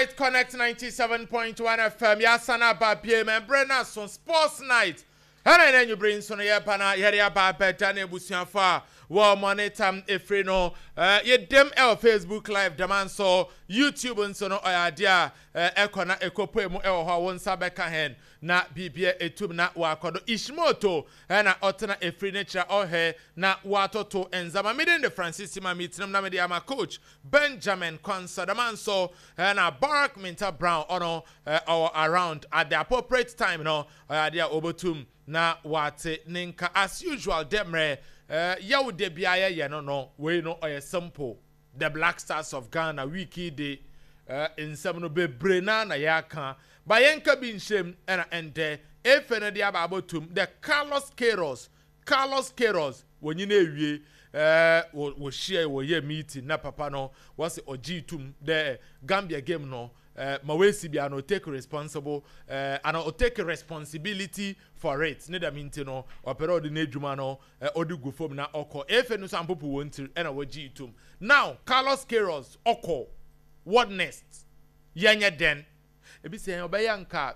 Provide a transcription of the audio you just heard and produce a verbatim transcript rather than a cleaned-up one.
Alright, Connect ninety-seven point one F M. Yasana aba bie mɛmbrɛ na so Sports Night. Ɛna ɛna anwummere nso no yɛba na yɛde aba abɛda ne abusuafo a wɔ monitor efiri no ɛɛ yɛdɛm ɛwɔ Facebook Live dɛm nso YouTube nso no ɔyɛ adeɛ a ɛkɔ na ɛkɔpue mu ɛwɔ hɔ a wɔn nsa bɛka hɛn na biribia etum na wakɔ do. Ishmoto ɛna ɔtena efiri ne kyerɛ ɔhɛ na watoto nzama. Mede ne Francis ma mi tenam na mede ama Coach Benjamin Kwansa dɛm nso ɛna Barak Minta Brown ɔno ɔwɔ around at the appropriate time no ɔyɛ adeɛ a ɔbɛtum na wate ne nka as usual. Dɛ mmerɛ ɛɛ yɛwo de bia yɛyɛ no no wei no ɔyɛ simple. The Black Stars of Ghana, week de ɛɛ nsɛm no bebree naa na yɛaka ba yɛnka bi nhyɛm ɛna ɛndɛ efe no de aba abɔtum the Carlos Queiroz Carlos Queiroz wɔnyina ewie ɛɛ wɔ wɔhyia wɔyɛ meeting na papa no wɔsi ɔgye tum dɛ Gambia game no ɛɛ ma wɔesi bia no take responsible ɛɛ ana o take responsibility for it. Ne dɛm nti no ɔpɛ dɛ ɔde n'edwuma no ɛɛ ɔde gu fam na ɔkɔ. Efe no nso ampopo wɔn tiri ɛna wɔgye tum. Now Carlos Queiroz ɔkɔ, what next? Yɛnyɛ den ebi sɛ ɔbɛyɛ nka.